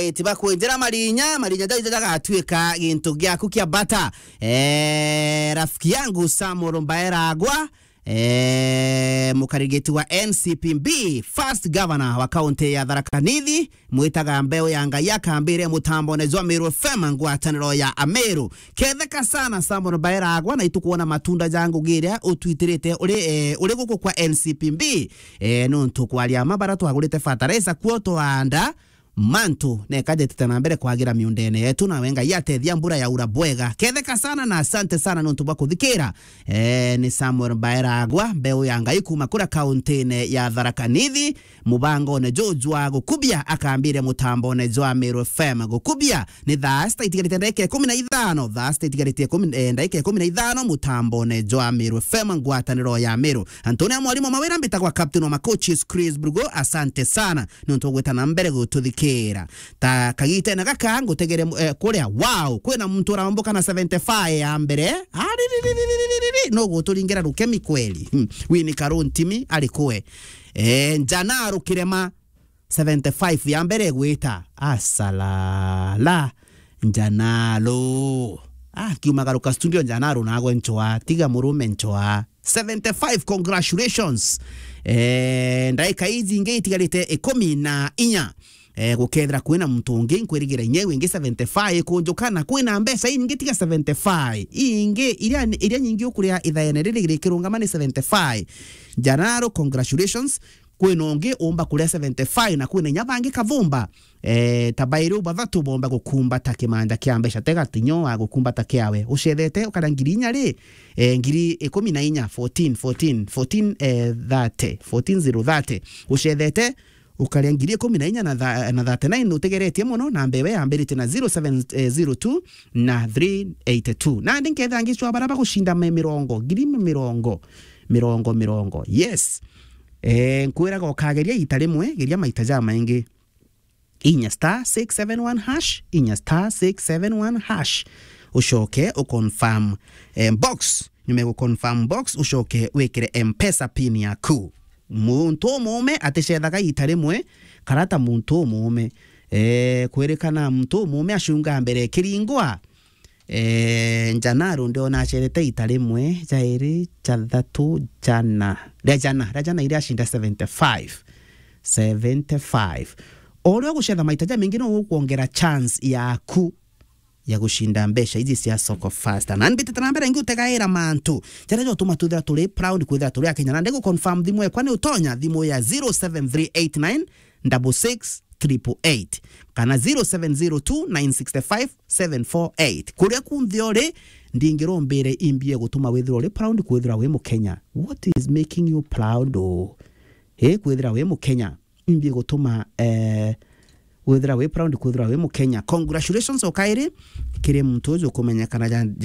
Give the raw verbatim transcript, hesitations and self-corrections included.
Eti bakwinjira marinya, marinya jau jagatuika gintu giaku kia bata. Eh, rafiki yangu Samuel Mbaeragwa, eh, mukarigiti wa N C P B, first governor wa kaunti ya Tharaka Nithi, mwitaga mbeu ya Ngai akambire mutambone jwa Meru F M ngwataniro ya Ameru. Ketheka sana Samuel Mbaeragwa, na itukuona matunda ja ngugi iria utwitirite uri, eh, uri guku kwa N C P B. Eh, nuntu kwaria ma bara twagurite fertilizer kuo twaanda, mantu neka jetite na mbere kwagira miundene yetu, nawe Ngai atethia mbura ya ura bwega. Ketheka sana na asante sana nuntu bwa kuthikira. Eh, ni Samuel Mbaeragwa, mbeu ya Ngai kuma kuria kauntine ya Tharaka Nithi, mubangone juju wa gukubia akambire mutambone jwa Meru F M. Gukubia ni thaa sita itigarite ndagika ikumi na ithano, thaa sita itigarite ikumi, eh, ndagika ikumi na ithano, mutambone jwa Meru F M, ngwataniro ya Meru. Antonia mwarimu mawira, mbitagwa captain wa macoaches Chris Brugo, asante sana nontu ugwita na mbere gututhikira. Ta kagitene gaka ngutegere mu-, eh, kuria, wow, kwina muntu urambukana seventy-five ya mbere. Aririririri, no guturingira rukemi kweli. Hmm. Winnie Karuntimi ari kwe? Eh, Njana Rukirema, seventy-five ya mbere gwita. Asalala. Njanalo. Ah, kiumagaruka studio Njanalo nagwe nchoa. Tiga murume nchoa. Seventy-five, congratulations. Eh, ndaika iji ingi itigarite ikumi na inya. Eh, gukethira kwina muntu ungi nkwirigira inya wingi seventy-five kunjuka na kwina mbeca ingi tiga seventy-five. Ingi iria, iria nyingi ukuria ithaene riri rikirungama ni seventy-five. Njanaro, congratulations. Kwina ungi umba kuria seventy-five na kwina inya bangi kavumba. Eh, ta bairi u bathatu bomba gukumbata kimanja kia mbeca, tega tinyo wa gukumbata kiawe. Ucethete ukaria ngiri inya ri, eh, ngiri ikumi na inya, fourteen, fourteen, fourteen, eh, thirty, fourteen zero thirty. Ucethete ukaria ngiri ikumi na inya na tha-, na thirty-nine utegeretie mono, na mbewe yambirite na zero seven zero two na three eighty-two. Nandi nkethira ngicwa bara bagucinda me mirongo, ngiri mirongo, mirongo, mirongo. Yes. Eh, nkwiraga ukageria ita rimwe, geria maita jamaingi. Inya star six seven one hash, inya star six seven one hash. Ucoke u confirm, eh, box. Nyuma ya gu confirm box, ucoke wikire M-Pesa pin yaku. Muntu umuume aticethaga ita rimwe, karata muntu umuume. Eh, kwirikana muntu umuume acunga mbere kiringwa. Eh, Njanaro ndiona acerete ita rimwe, jairi, jathatu, jana. Ria jana, ria jana iria acinda seventy-five. Seventy-five. O uria ugucetha maita jamaingi, no ukwongera chance yaku ya gucinda mbeca iji cia Soko Fasta. Na mbitite na mbere ngiutegaira mantu jaria jotuma twithira turi proud kwithira turi Akenya. Na ndigu confirm thimu ekwa ni utonya thimu ya zero seven three eight nine double six triple eight kana zero seven zero two nine six five seven four eight. Kuria kunthe uri, ndingirombire imbie gutuma withirwa uri proud kwithirwa wi Mukenya. What is making you proud, o? Eh, kwithirwa wi Mukenya. Imbie gutuma, eh, withirwa wi proud kwithirwa wi Mukenya. Congratulations o kairi kiri muntu uju kumenyekana ja